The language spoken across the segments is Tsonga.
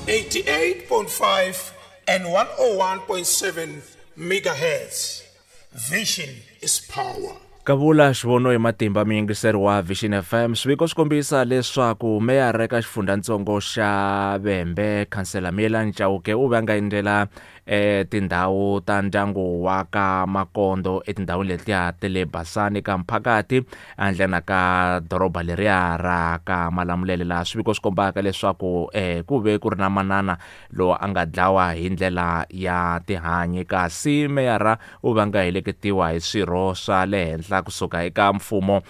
88.5 and 101.7 megahertz. Vision is power. Kavula xivono hi matimba muyingiseri wa Vision FM. Swiviko swi kombisa leswaku meyara eka xifundzhantsongo xa Vhembe, Khansela Miyelani Chauke, u ve a nga endzela tindhawu ta ndyangu wa ka Makondo etindhawini letiya ta le Basani ka Mphakati ehandlena ka doroba leriya ra ka Malamulele, laha swiviko swi kombaka leswaku ku ve ku ri na manana lowu a nga dlawa hi ndlela ya tihanyi, kasi meyara u va nga heleketiwa hi swirho swa le henhla kusuka eka mfumo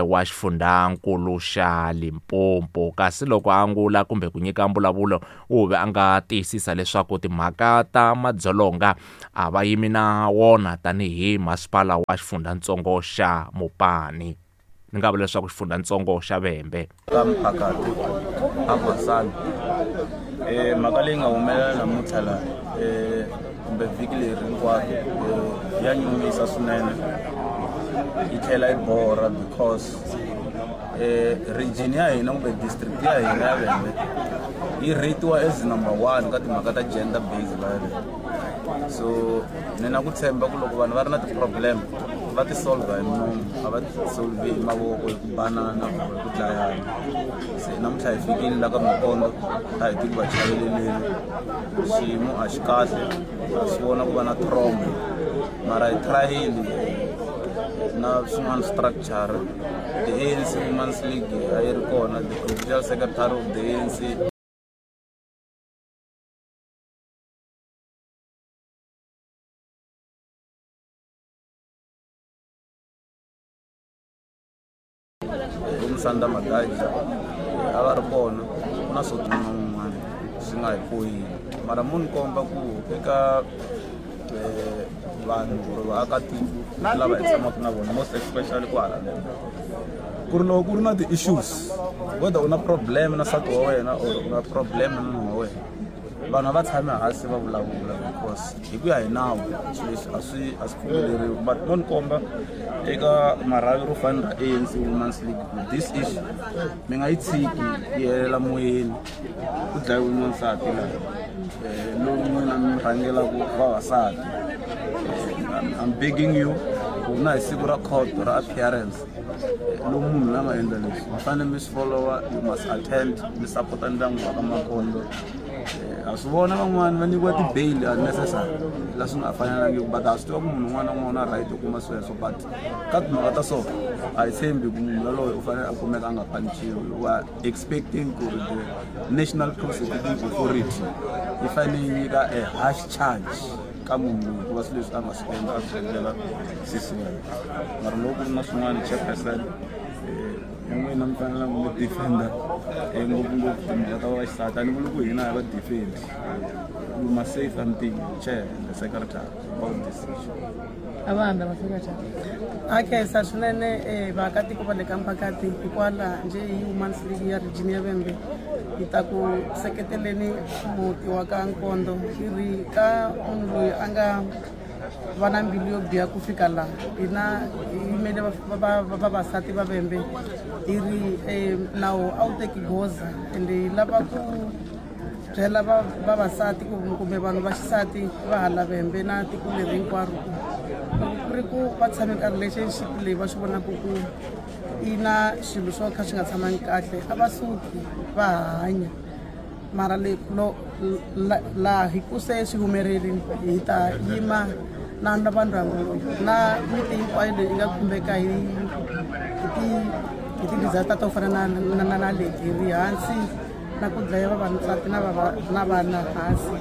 wa xifundzankulu xa Limpopo. Kasi loko a angula kumbe ku nyika mbulavulo, u ve a nga tiyisisa leswaku timhaka ta madzolonga a va yimi na wona tanihi masipala wa xifundzatsongo xa Mopani. Ni nga vula leswaku xifundzatsongo xa Vhembe. Ka Mphakati a Basani, mhaka leyi nga humelela namuntlha la kumbe vhiki leri hinkwaro ya nyumisa swinene, yi tlhela yi borha because region ya hina kumbe district ya hina ya Vhembe yi rate-iwa as number 1 ka timhaka ta gender based violence. So ni na ku tshemba ku loko vanhu va ri na ti-problem va ti solve hi nomu, a va ti solve hi mavoko, hi ku banana kumbe ku dlayana. Se namuntlha hi fikile la ka Makondo, a hi ti ku va chaveleleni, xiyimo a xi kahle, ha swi vona ku va na trauma, mara hi tryile na swin'wana structure. The ANC Women's League a yi ri kona, the provincial secretary of the ANC Musanda Magaji a va ri kona, ku na swo tala n'wana swi nga hi poyini, mara mo ni komba ku eka vanhu or vaakatiko lava hi tshamaka na vona, most especially kwala ku ri loko ku ri na ti-issues, whether u na problem na nsati wa wena or u na problem na nuna wa wena, vanhu a va tshami hansi va vulavula because hi ku ya hi nawu swilo leswi a swi pfumeleriwi. But mo ni komba eka marhavi ro fana ra ANC Women's League ku this issue mi nga yi tshiki yi helela moyeni, ku dlayiwe n'wansati laha lowu n'wina mi rhangelaka vavasati. I'm begging you ku na hi siku ra court ra appearance lowu munhu la nga endla leswi mi fanele mi swi followa, you must attend, mi support-a ndyangu wa ka Makondo. Ha swi vona van'wani va nyikiwa ti-bail unnecessary la swi nga fanelangiki, but ha swi tiva ku munhu un'wana na un'wana u na right yo kuma sweswo, but ka timhaka ta so a hi tshembi ku munhu yaloye u fanele a kumeka a nga panichiwi. We are expecting ku ri the National Prosecuting Authority yi fanele yi nyika a harsh charge ka munhu loyi hikuva swilo leswi a nga swi endla a swi endlela sesi wa yena. Mara loko ku ri na swin'wana, chairperson, n'wina mi fanele mi defender ngopfungopfu timhaka ta vaxisati, a ni vuli ku hina hi va defend. You must say something, chair and the secretary, about this issue. A va hambi va secretary. A khensa swinene vaakatiko va le ka Mphakati, hikwalaho njhe hi Women's League ya region ya Vhembe hi ta ku seketeleni muti wa ka Nkondo, hi ri ka munhu loyi a nga va na mbilu yo biha ku fika laha hina hi yimele vavasati va Vhembe, hi ri nawu a wu teki goza, ende hi lava ku byela vavasati kumbe vanhu va xisati va hala Vhembe na tiko leri hinkwaro ku loko ku ri ku va tshame ka relationship leyi va swi vonaka ku yi na swilo swo kha swi nga tshamangi kahle, a va suki va hanya. Mara le lo laha hi ku se swi humelerile, hi ta yima na na vandyangu na miti hinkwayo leyi nga khumbeka hi ti-disaster to fana na leti, hi ri hansi na ku dlaya vavasati na vana hansi.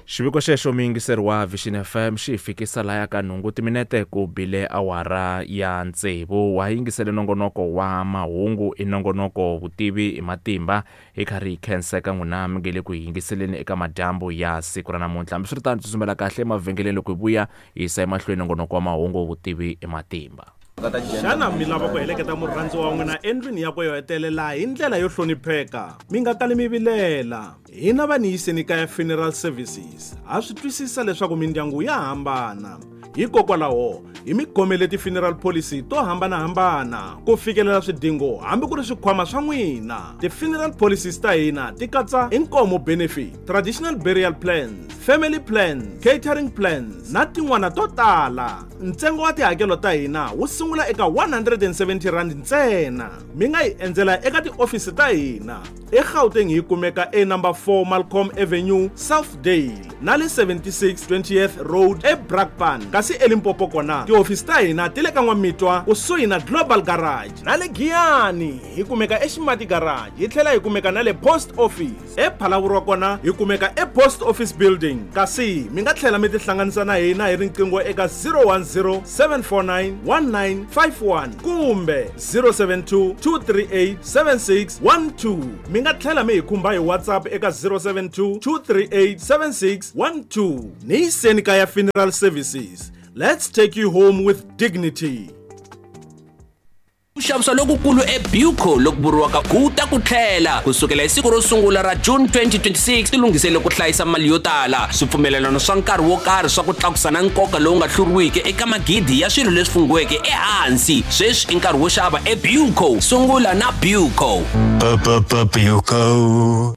Xiviko xexo muyingiseri wa Vision FM xi hi fikisa laya ka nhungu timinete ku bile awara ya 6. Wa yingisele nongonoko wa mahungu, i nongonoko vutivi hi matimba, hi karhi hi khenseka n'wina mi nge le ku hi yingiseleni eka madyambu ya siku ra namuntlha. Hambiswiritano, tsutsumela kahle emavhengeleni loko hi vuya hi yisa emahlweni nongonoko wa mahungu vutivi hi matimba. Xana mi lava ku heleketa murhandziwa wa n'wina endlwini yakwe yo hetelela hi ndlela yo hlonipheka? Mi nga kali mi vilela. Hina va ni yiseni kaya Funeral Services ha swi twisisa leswaku mindyangu ya hambana. Hikokwalaho hi mi khomele ti-funeral policy to hambanahambana ku fikelela swidingo hambi ku ri swikhwama swa n'wina. Ti-funeral policies ta hina ti katsa inkomo benefit, traditional burial plans, family plans, catering plans na tin'wana to tala. Ntsengo wa tihakelo ta hina wu sungula eka R170 ntsena. Mi nga hi endzela eka tiofisi ta hina eGauteng, hi kumeka e-number 4 Malcolm Avenue, Southdale, na le 76 20th Road eBrakpan, kasi eLimpopo kona tihofisi ta hina ti le ka N'wamitwa kusuhi na Global Garage, na le Giyani hi kumeka eXimati Garage, hi tlhela hi kumeka na le Post Office. ePhalaborwa kona hi kumeka ePost Office Building, kasi mi nga tlhela mi tihlanganisa na hina hi riqingho eka 010 749 1951 kumbe 072 238 7612. Mi nga tlhela mi hi khumba hi WhatsApp eka 072 238 7612. Ni yiseni kaya Funeral Services, let's take you home with dignity. Ku xavisa lokukulu eBuco loku vuriwaka Guta ku tlhela kusukela hi siku ro sungula ra June 2026, tilunghisele ku hlayisa mali yo tala, swipfumelelano swa nkarhi wo karhi swa ku tlakusa na nkoka lowu nga hluriwiki eka magidi ya swilo leswi funghiweke ehansi. Sweswi i nkarhi wo xava eBuco. Sungula na Buco. Buco.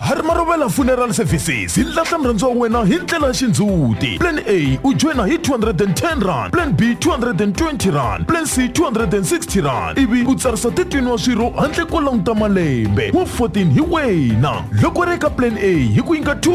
Harimarovela Funeral Services hi lahla murhandziwa wa wena hi ndlela ya xindzhuti. Plan A u joyina hi 210 rand, Plan B 220 rand, Plan C 260 rand, ivi u tsarisa 13 wa swirho handle ko languta malembe. Wa 14 hi wena. Loko ri eka Plan A hi ku nyika 2